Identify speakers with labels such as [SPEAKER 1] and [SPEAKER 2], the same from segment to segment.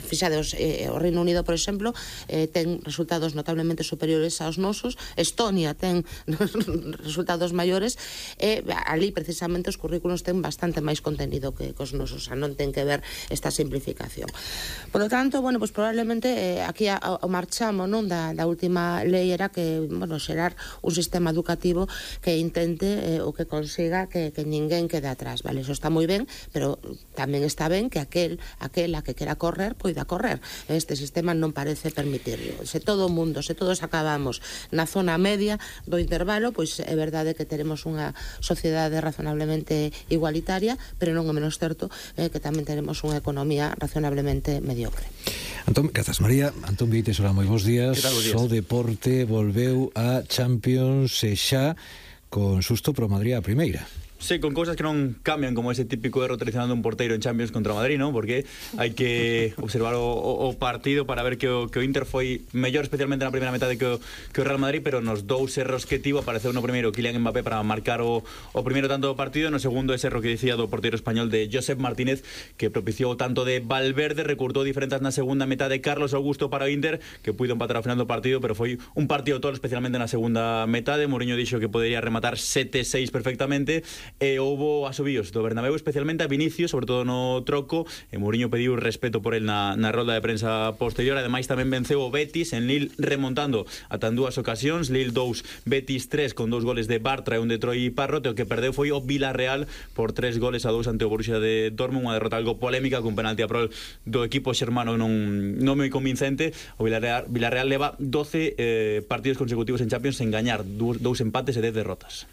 [SPEAKER 1] fixados, o Reino Unido, por exemplo, ten resultados notablemente superiores aos nosos, Estonia ten resultados maiores, e ali precisamente os currículos ten bastante máis contenido que cos nosos, non ten que ver esta simplificación. Por lo tanto, bueno, pues probablemente aquí o marchamo, non, da última lei era que, bueno, xerar un sistema educativo que intente ou que consiga que ninguén quede atrás, vale? Eso está moi ben, pero tamén está ben que aquela que quera correr, poida correr. Este sistema non parece permitirlo. Se todo o mundo, se todos acabamos na zona media do intervalo, pois é verdade que teremos unha sociedade razonablemente igualitaria, pero non é menos certo que tamén teremos unha economía razonablemente mediocre.
[SPEAKER 2] Antón, grazas María. Antón Vieites, hola, moi bons días. O deporte volveu a Champions e xa con susto pro Madrid a primeira.
[SPEAKER 3] Sí, con cousas que non cambian, como ese típico erro tradicional dun porteiro en Champions contra o Madrid, non? Porque hai que observar o partido para ver que o Inter foi mellor, especialmente na primeira metade que o Real Madrid, pero nos dous erros que tivo apareceu no primeiro Kylian Mbappé para marcar o primeiro tanto do partido, no segundo ese erro que dicía do porteiro español de Josep Martínez, que propiciou o tanto de Valverde, recurtou diferenzas na segunda metade Carlos Augusto para o Inter, que puido empatar ao final do partido, pero foi un partido todo, especialmente na segunda metade. Mourinho dixo que podería rematar 7-6 perfectamente, e houbo asobíos do Bernabéu, especialmente a Vinicius, sobre todo no troco, e Mourinho pediu respeto por el na rolda de prensa posterior. Ademais tamén venceu o Betis en Lille, remontando ata en dúas ocasións, Lille 2, Betis 3, con 2 goles de Bartra e un de Troy Parrot. O que perdeu foi o Villarreal por 3 goles a 2 ante o Borussia de Dortmund, unha derrota algo polémica, con penalti a prol do equipo xermano non moi convincente. O Villarreal leva 12 partidos consecutivos en Champions sen gañar, 2 empates e 10 derrotas.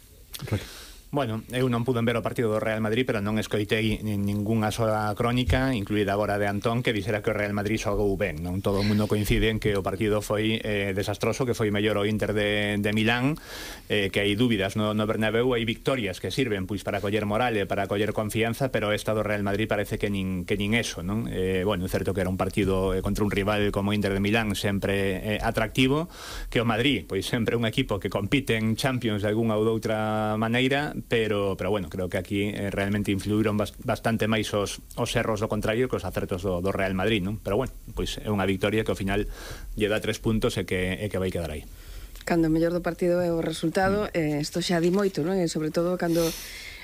[SPEAKER 4] Bueno, eu non pude ver o partido do Real Madrid, pero non escoitei ningunha sola crónica, incluída agora de Antón, que dixera que o Real Madrid xogou ben. Non todo o mundo coincide en que o partido foi desastroso, que foi mellor o Inter de Milán, que hai dúbidas no Bernabéu, hai victorias que sirven pois para coller moral e para coller confianza, pero esta do Real Madrid parece que nin eso, non? Bueno, é certo que era un partido contra un rival como o Inter de Milán sempre atractivo, que o Madrid, pois sempre un equipo que compite en Champions de algunha ou doutra maneira, pero bueno, creo que aquí realmente influíron bastante máis os erros do contrario que os acertos do Real Madrid, non? Pero bueno, pois é unha victoria que ao final lle dá 3 puntos e que vai quedar aí.
[SPEAKER 5] Cando o mellor do partido é o resultado, isto xa di moito, non? E sobre todo cando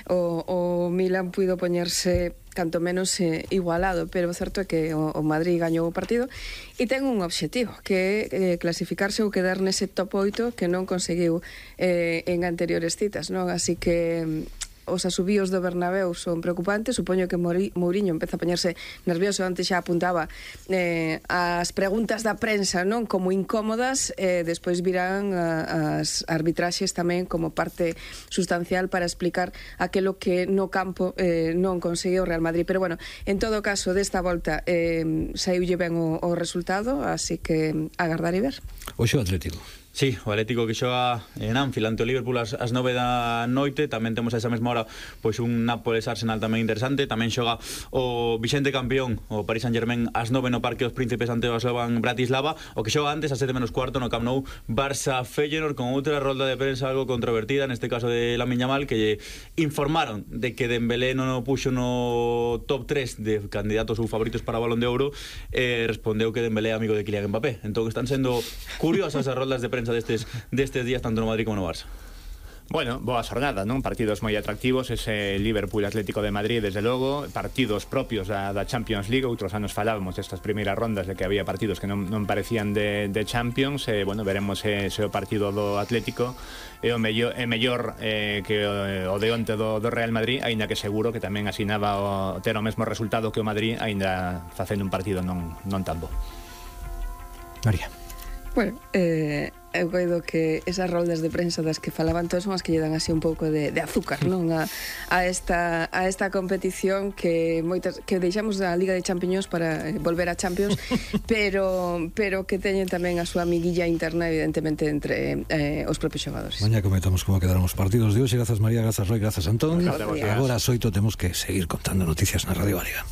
[SPEAKER 5] o Milan puido poñerse canto menos igualado, pero o certo é que o Madrid gañou o partido e ten un obxectivo, que é clasificarse ou quedar nese top 8 que non conseguiu en anteriores citas, non? Así que os asubíos do Bernabéu son preocupantes. Supoño que Mourinho empeza a poñerse nervioso. Antes xa apuntaba as preguntas da prensa, non, como incómodas, despois virán as arbitraxes tamén como parte sustancial para explicar aquilo que no campo non conseguiu o Real Madrid. Pero bueno, en todo caso, desta volta saiulle ben o resultado, así que agardar e ver.
[SPEAKER 2] Hoxe o Atlético.
[SPEAKER 3] Sí, o Atlético que xoga en Anfield ante o Liverpool ás 9 da noite. Tamén temos a esa mesma hora pois un Nápoles-Arsenal tamén interesante. Tamén xoga o vixente campeón, o Paris Saint-Germain, ás 9 no Parque dos Príncipes ante o Slovan Bratislava. O que xoga antes, ás 7 menos cuarto, no Camp Nou, Barça-Feyenoord, con outra rolda de prensa algo controvertida, neste caso de Lamine Yamal, que lle informaron de que Dembélé non o puxo no top 3 de candidatos ou favoritos para o Balón de Ouro. Respondeu que Dembélé é amigo de Kylian Mbappé. Entón están sendo curiosas as roldas de prensa destes días, tanto no Madrid como no Barça.
[SPEAKER 4] Bueno, boa xornada, non? Partidos moi atractivos, ese Liverpool Atlético de Madrid, desde logo, partidos propios da Champions League. Outros anos falábamos destas primeiras rondas de que había partidos que non parecían de Champions. Bueno, veremos se o partido do Atlético é mellor que o de onte do Real Madrid, aínda que seguro que tamén asinaba ter o mesmo resultado que o Madrid, aínda facendo un partido non tan bo.
[SPEAKER 2] María.
[SPEAKER 5] Bueno, eu coido que esas roldas de prensa das que falaban todos son as que lle dan así un pouco de azúcar, non? A esta competición que deixamos da Liga de Champiñóns para volver a Champions, pero que teñen tamén a súa amiguilla interna, evidentemente, entre os propios xogadores.
[SPEAKER 2] Mañá comentamos como quedaron os partidos de hoxe. Grazas María, grazas Roy, grazas Antón. Agora ás 8 temos que seguir contando noticias na Radio Galega.